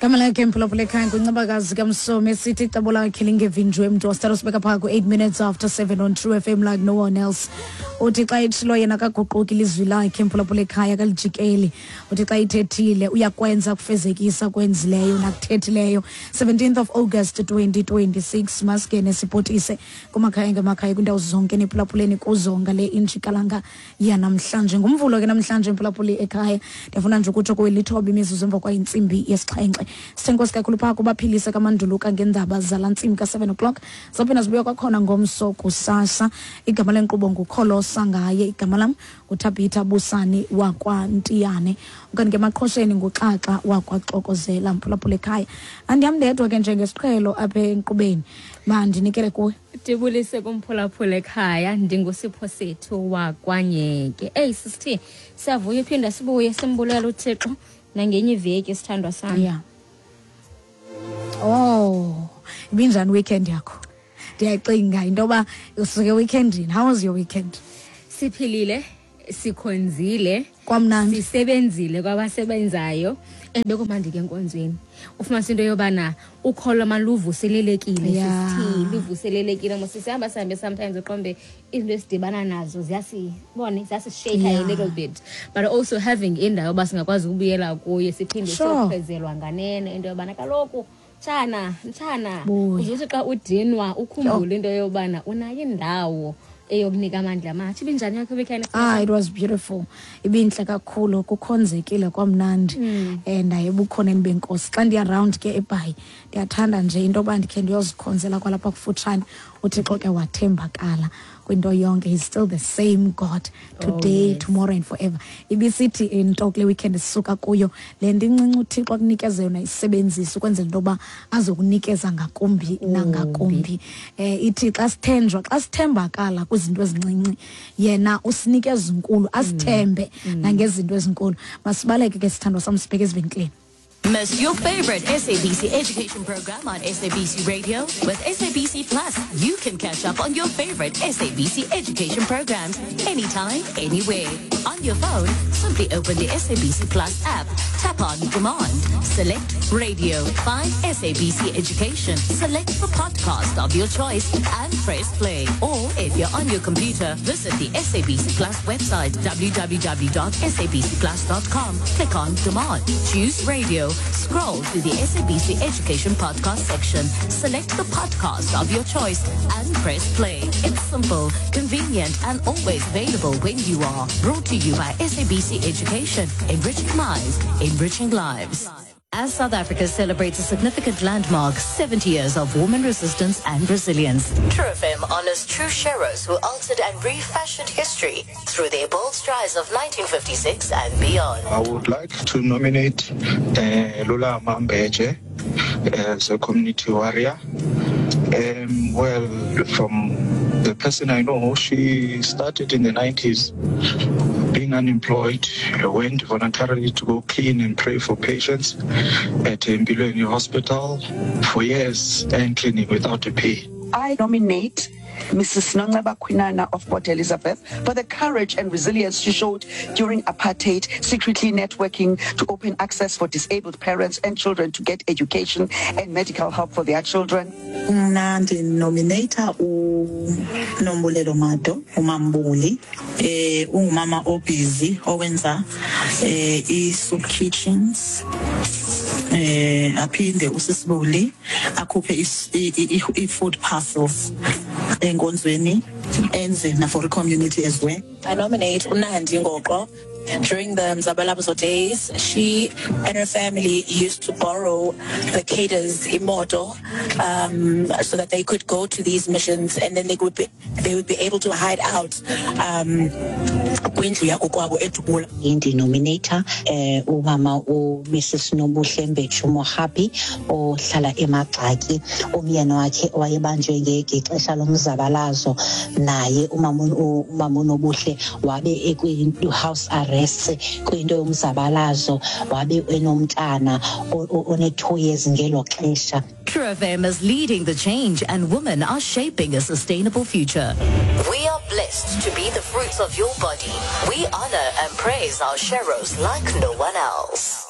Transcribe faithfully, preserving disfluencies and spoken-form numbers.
Igama lakhe, mphulaphula ekhaya, nguNcebakazi kaMsomi, esithi icebo lakhe lingevinjwe mntu. Wasithatha sibeka phaa ku-eight minutes after seven on True F M like no one else. Uthi xa etshilo yena kaguquki, ilizwi lakhe, mphulaphula ekhaya, kalijikeli. Uthi xa ithethile uyakwenza, kufezekisa kwenzileyo nakuthethileyo. seventeenth of August twenty twenty-six. Masingene sipotise kumakhaya ngemakhaya, kwiindawo zonke niphulaphuleni kuzo ngale injikalanga yanamhlanje. Ngumvulo ke namhlanje, mphulaphuli ekhaya. Ndiyafuna nje ukutsho kuwe lithoba imizuzu emva kwayintsimbi yesixhenxe. Sithenkosi kakhulu phaa kubaphilise kamanduluka ngeendaba zala ntsimbi ka-seven o'clock. Zawuphinda zibuya kwakhona ngomso kusasa. Igama lenkqubo nguKholosa Ngaye, igama lam nguThabitha Busani wakwaNtiyane, okanye ke emaqhosheni nguXaxa wakwaXokozela. Mphulaphula ekhaya, andiham ndedwa ke njengesiqhelo apha enkqubeni, mandinikele kuwe. Ndibulise kumphulaphula ekhaya, ndinguSipho Sethu wakwanyeke. Eyi sisithi siyavuya uphinda sibuye, simbulela uThixo nangenye iveki, sithandwa sam. Yeah, oh, ibinjani weekend yakho? Ndiyacinga into yoba usuke weekendini. How was your weekend? Siphilile, sikhonzile. Kwamnandi. Sisebenzile kwabasebenzayo, and bekumandi ke enkonzweni. Ufumanisa into yobana ukholo maluvuselelekile. Yeah. Sisithi luvuselelekile mos. Sihamba sihambe, sometimes uqombe izinto esidibana nazo ziyasibone, ziyasishake Yeah. a little bit, but also having indawo yoba singakwazi ukubuyela kuyo, siphinde Sure. siyokhwezelwa nganene into yobana kaloku mtshana, mtshana, Buya. uzuthi xa udinwa ukhumbule into yobana unayo indawo eyokunika amandla amatsha. Ibinjani yakho weekend? Ah, it was beautiful. Ibintle kakhulu, kukhonzekile kwamnandi. Mm. Eh ndaye ebukhoneni benkosi. Xa ndiya round ke eBhayi, ndiyathanda nje into yoba ndikhe ndiyozikhonzela kwalapha kufutshane. UThixo ke wathembakala kwinto yonke. He's still the same God today, Oh, yes. tomorrow and forever. Ibisithi into kule weekend sisuka kuyo, le nto incinci uThixo akunikeze yona isebenzise ukwenzela into yoba azokunikeza ngakumbi nangakumbi. Eh ithi xa sithenjwa, xa sithembakala kwizinto ezincinci, yena usinikeza inkulu, asithembe nangezinto ezinkulu. Masibaleke ke, sithandwa sam, sibheke ezivenkileni. Miss your favorite S A B C education program on S A B C Radio? With S A B C Plus, you can catch up on your favorite S A B C education programs anytime, anywhere. On your phone, simply open the S A B C Plus app, tap on Demand, select Radio, find S A B C Education, select the podcast of your choice and press play. Or if you're on your computer, visit the S A B C Plus website, w w w dot S A B C plus dot com. Click on Demand, choose Radio, scroll to the S A B C Education podcast section, select the podcast of your choice and press play. It's simple, convenient and always available when you are. Brought to you by S A B C Education, enriching minds, enriching lives. As South Africa celebrates a significant landmark, seventy years of woman resistance and resilience, True F M honors true sheroes who altered and refashioned history through their bold strides of nineteen fifty-six and beyond. I would like to nominate uh, Lula Mambeje as a community warrior. Um, well, from the person I know, she started in the nineties being unemployed, went voluntarily to go clean and pray for patients at Empilweni Hospital for years and cleaning without a pay. I nominate Missus Nonceba Kwinana of Port Elizabeth for the courage and resilience she showed during apartheid, secretly networking to open access for disabled parents and children to get education and medical help for their children. Mna ndinomineyitha uNombulelo Mado, uMambuli. eh ungumama obusy owenza eh i-soup kitchens, eh aphinde usisibuli akhuphe i-food parcels enkonzweni, enze na for community as well. I nominate uNandi Ngoqo. During the Mzabalazo days, she and her family used to borrow the cadres imoto um, so that they could go to these missions, and then they would be they would be able to hide out um, kwindlu yakokwabo eDubula. Ndinomineyitha eh umama uMrs Nobuhle Mbetshu Mohapi ohlala eMagxaki. Umyeni wakhe wayebanjwe ngexesha lomzabalazo, naye umama umama uNobuhle wabe ekwi-house arrest kwinto yomzabalazo, wabe enomntana one-two years ngelo xesha. True F M is leading the change, and women are shaping a sustainable future. We are blessed to be the fruits of your body. We honor and praise our sheroes like no one else.